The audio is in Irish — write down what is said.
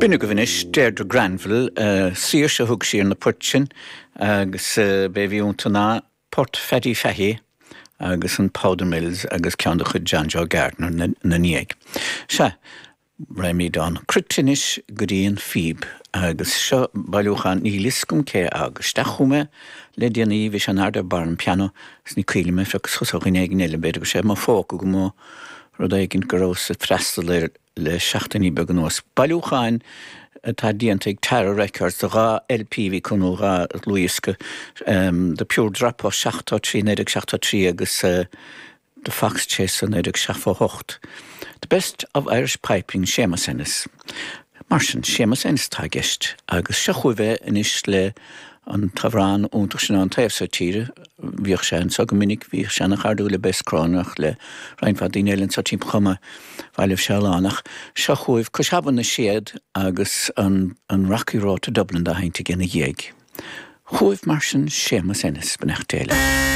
B'in agaibh anois Deirdre Granville, Saoirse a thug sí ar na poirt sin agus b'é a bhí iontu ná Port Phaddy Fahy agus an Powder Mills agus ceann de chuid John Joe Gardiner ina ndiaidh. Sea, Raghaimid ón cruit anois go dtí an phíb agus seo bailiúchán, níl fhios agam cé a fhág isteach chugam é le déanaí, bhí sé in airde ar barr an pianó is ní cuimhin liom ar phioc suas ó dhuine éigin eile, b'fhéidir go raibh sé i mo phóca agam ó rud éigin go rabhas ag freastal air le seachtainí beaga anuas. Bailiúcháin atá déanta ag Tara Records de 2 LP a bhí acu nó 2 dhlúthdhiosca, The Pure Dropout 73, 1973 agus The Fox Chaser 1978. The Best of Irish Piping, Séamus Ennis. Mar sin, Séamus Ennis atá i gceist agus seo chugaibh é anois le an t-amhrán iontach sin ón taobh seo tíre. Bhíodh sé anseo go minic, bhíodh sé ana-chairdiúil le Bess Cronin ach le roinnt mhaith daoine eile anseo timpeall chomh maith. Bhailigh sé a lán. Ach seo chugaibh Cois Abhann na Séad agus an an Rocky Road to Dublin dá sheinnt aige ina dhiaidh. Chugaibh mar sin Séamus Ennis, beannacht Dé leat.